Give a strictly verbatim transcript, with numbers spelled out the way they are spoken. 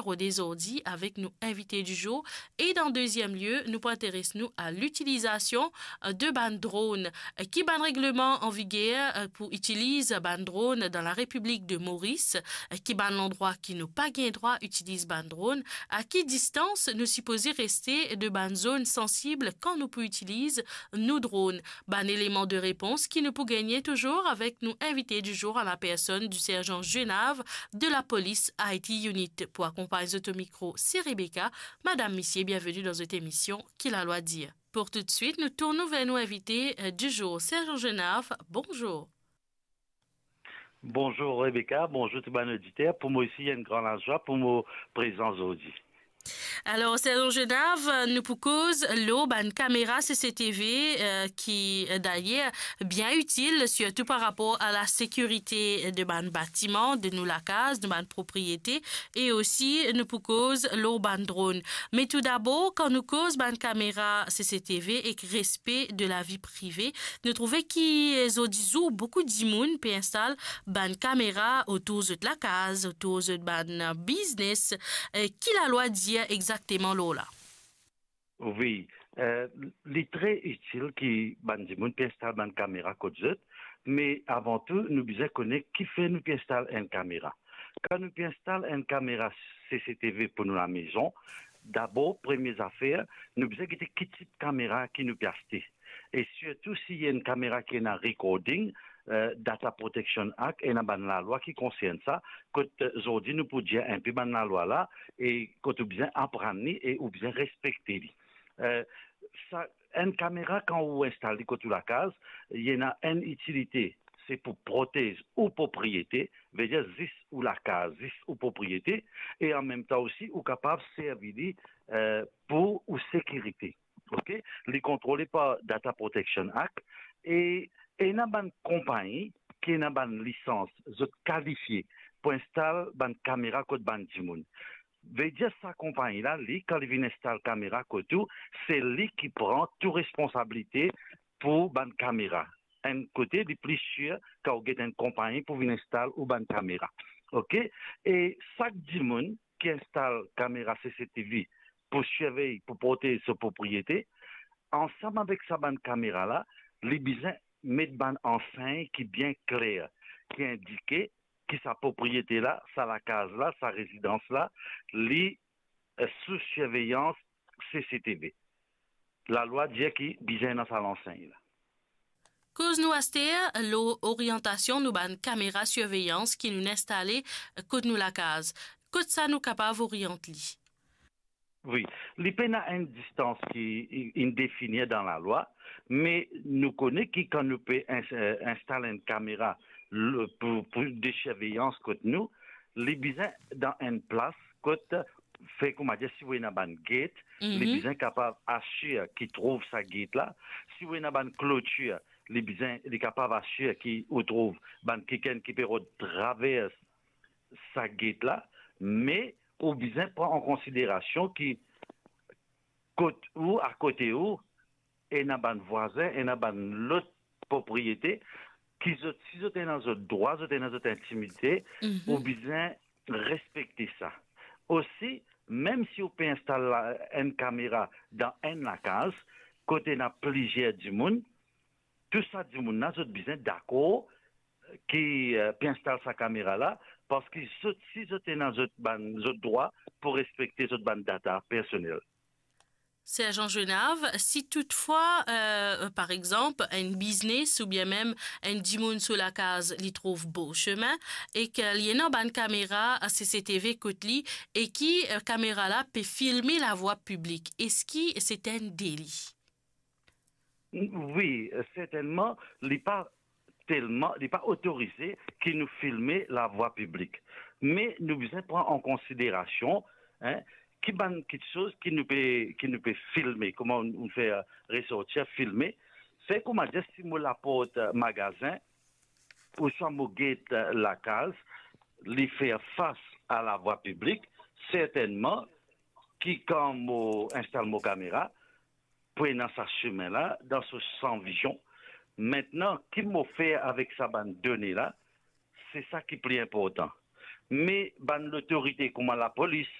rode zordi avek nou invite di zour. E dan deziem lie, nou pou interes nou a litilizasion, eh, de bann dronn. Eh, ki bann regleman an viger, eh, pou itiliz bann dronn dan la Repiblik de Moris? Eh, ki bann landrwa ki nou pa gagn drwa itiliz bann dronn? A ki distans nou sipoze reste de bann zonn sansib kan nou pou itiliz nou dronn? Bann eleman de repons ki nou pou gagne touzour avek nou invite di zour, a la personn di serjan Genav de lapolis I T Unit. Pou akonpagn zot o mikro, se Rebecca. Madam, misie, bienveni dan zot emision Ki Lalwa Dir. Pou toutswit, nou tourn ver nou invite, eh, di zour, serjan Genav. Bonzour. Bonzour Rebecca, bonzour tou bann oditer. Pou mwa osi, li enn gran lazwa pou mo prezan zordi. Alor, serjan Genav, nou pou koz lor bann kamera C C T V, eh, ki, eh, dayer bien itil, sirtou par rapor a lasekirite de bann batiman, de nou lakaz, de bann propriete, e osi nou pou koz lor bann dronn. Me toudabor, kan nou koz bann kamera C C T V ek respe de lavi prive, nou trouve ki, eh, zordi zour, boukou dimoun pe instal bann kamera otour zot lakaz, otour zot bann, eh, biznes. Eh, ki lalwa dir exakteman lor la? Wi, eh, li tre itil ki bann dimoun pe instal bann kamera kot zot, me avan tou, nou bizin kone kifer nou pe instal enn kamera. Kan nou pe instal enn kamera C C T V pou nou lamezon, dabor, premie zafer, nou bizin gete ki tip kamera ki nou pe aste. E sirtou si enn kamera ki ena recording, eh, Data Protection Act, ena bann lalwa ki konsern sa, kot, eh, zordi nou pou dir enpe bann lalwa la, e kot ou bizin aprann li e ou bizin respekte li. Eh, sa, enn kamera, kan ou instal li kot ou lakaz, li ena enn itilite, se pou protez ou propriete, vedir zis ou lakaz, zis ou propriete, e anmemtan osi, ou kapav servi li, eh, pou ou sekirite. Ok? Li kontrole par Data Protection Act, e ena bann konpagni ki ena bann lisans, zot kalifie pou instal bann kamera kot bann dimoun. Vedir sa konpagni la, li, kan li vinn instal kamera kot ou, se li ki pran tou responsabilite pou bann kamera. Enn kote, li pli sir kan ou get enn konpagni pou vinn instal ou bann kamera. Ok? E sak dimoun ki instal kamera C C T V pou sirvey, pou protez so propriete, ansam avek sa bann kamera la, li bizin met bann ansegn ki bien kler, ki indike ki sa propriete la, sa lakaz la, sa rezidans la, li, eh, sou sirveyans C C T V. Lalwa dir ki bizin ena sa lansegn la. Koz nou aster lor oryantasion nou bann kamera sirveyans ki nou instale kot nou lakaz. Kot sa nou kapav oryant li? Wi, li pena enn distans ki i-, inn defini dan lalwa, me nou kone ki kan nou pe ins-, eh, instal enn kamera l-, pou, pou de sirveyans kot nou, li bizin dan enn plas kot, fer koumadir, si ou ena bann get, li Mhm. bizin kapav asir ki trouv sa get la. Si ou ena bann klotir, li bizin, li kapav asir ki ou trouv bann kikenn ki pe rod travers sa get la, me ou bizin pran an konsiderasion ki kot ou, akote ou, ena bann vwazin, ena bann lot propriete, ki zot, si zot ena zot drwa, zot ena zot intimite, Mhm. ou bizin respekte sa. Osi, mem si ou pe instal la, enn kamera dan enn lakaz, kot ena plizier dimoun, tou sa dimoun la, zot bizin dakor ki, eh, pe instal sa kamera la, parski zot, si zot ena zot bann, zot drwa pou respekte zot bann data personel. Serjan Genav, si toutfwa, eh, par exanp, enn biznes oubien mem enn dimoun so lakaz, li trouv Beau Chemin e ki li ena bann kamera C C T V kot li e ki, eh, kamera la pe filme lavwa piblik, eski se enn deli? Wi, sertennman, li pa telman, li pa otorize ki nou filme lavwa piblik. Me nou bizin pran an konsiderasion, en, ki bann kiksoz ki nou pe, ki nou pe filme, kouma nou fer resortir, filme. Fer koumadir, si mo laport magazin, ouswa mo get lakaz, li fer fas a lavwa piblik, sertennman ki kan mo instal mo kamera, pou ena sa simin la dan so san vizion. Mintnan, ki mo fer avek sa bann done la, se sa ki pli inportan. Me bann lotorite kouma lapolis,